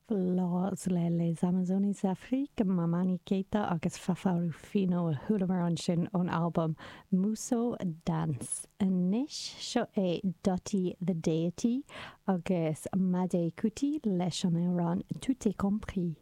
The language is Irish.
Blas le Les Amazones d'Afrique, Mamani Keita agus Fafa Ruffino a chualamar ansin ón albam Mousso Dance. Anois, seo é Dutty the Deity agus Made Kuti leis an amhrán Tout est compris.